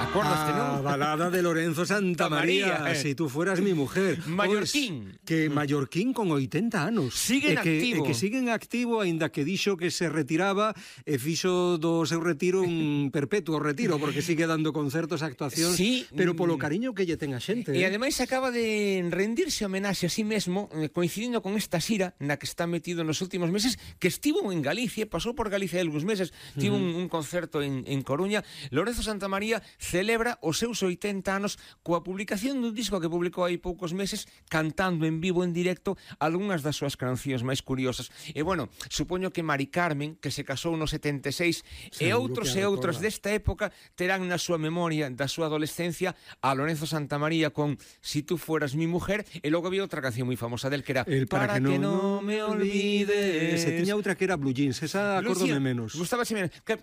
Acordaste, non? Balada de Lorenzo Santamaría, Si tú fueras mi mujer. Mallorquín. Que Mallorquín con 80 anos. Siguen activo. Que siguen activo, aínda que dixo que se retiraba e fixo do seu retiro un perpetuo retiro, porque sigue dando concertos, actuacións, sí, pero polo cariño que lle ten a xente. E ademais acaba de rendirse homenaxe a sí mesmo, coincidindo con esta xira na que está metido nos últimos meses, que estivo en Galicia, pasou por Galicia algúns meses, tivo un concerto en Coruña. Lorenzo Santamaría celebra os seus 80 anos coa publicación dun disco que publicou hai poucos meses, cantando en vivo, en directo, algunhas das súas cancións máis curiosas. E bueno, supoño que Mari Carmen, que se casou no 76, e outros desta época terán na súa memoria da súa adolescencia a Lorenzo Santamaría con Si tú fueras mi mujer, e logo había outra canción moi famosa del que era Para que no me olvides. Se tiña outra que era Blue Jeans, esa acórdome menos. Gustábase menos. Que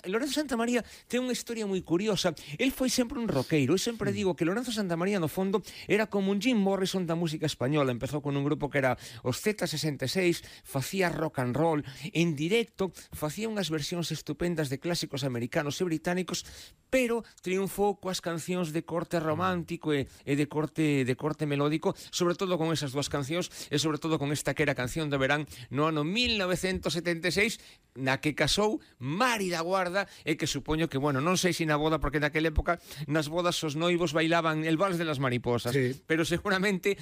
Lorenzo Santamaría ten unha historia moi curiosa. El foi sempre un roqueiro. Eu sempre digo que Lorenzo Santamaría, no fondo, era como un Jim Morrison da música española. Empezou con un grupo que era os Z66, facía rock and roll, en directo, facía unhas versións estupendas de clásicos americanos e británicos, pero triunfou coas cancións de corte romántico e de corte melódico, sobre todo con esas dúas cancións, e sobre todo con esta que era a canción de verán no ano 1976, na que casou Mari da Guarda, e que supoño que, bueno, non sei se na boda, porque naquela época nas bodas os noivos bailaban el vals de las mariposas, sí. Pero seguramente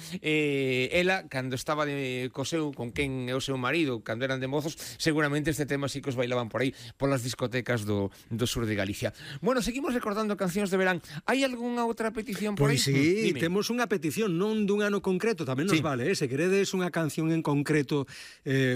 ela, cando estaba con quen é o seu marido, cando eran de mozos, seguramente este tema sí que os bailaban por aí, polas discotecas do sur de Galicia. Bueno, seguimos recordando cancións de verán. Hai algunha outra petición por aí? Pois sí, temos unha petición, non dun ano concreto, tamén nos vale, se queredes unha canción en concreto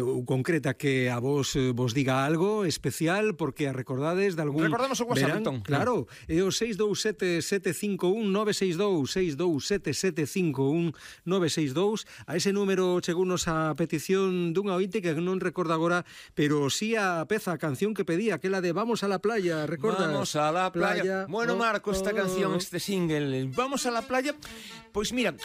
ou concreta que a vos diga algo especial, porque a recordades de algún... Recordamos o WhatsApp, entón. Claro, é o 627-751-962, a ese número chegunos a petición dunha ointe que non recordo agora, pero sí a peza, a canción que pedía, aquela de Vamos a la playa, recordas? Vamos a la playa. Bueno, Marco, esta canción, este single, Vamos a la playa, pois mira,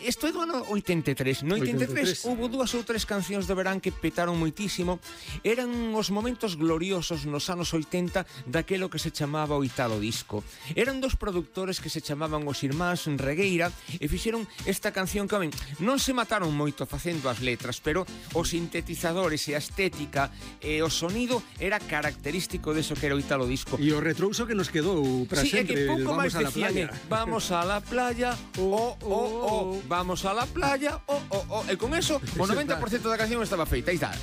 isto é do ano 83. No 83 houve dúas ou tres cancións de verán que petaron moitísimo. Eran os momentos gloriosos nos anos 80 daquelo que se chamaba o Italo Disco. Eran dos produtores que se chamaban os irmáns Regueira e fixeron esta canción que, non se mataron moito facendo as letras, pero os sintetizadores e a estética e o sonido era característico deso que era o Italo Disco. E o retrouso que nos quedou para sempre. É que pouco máis decían, vamos a la playa, vamos a la playa, E con eso, o 90% da canción estaba feita. Aí está.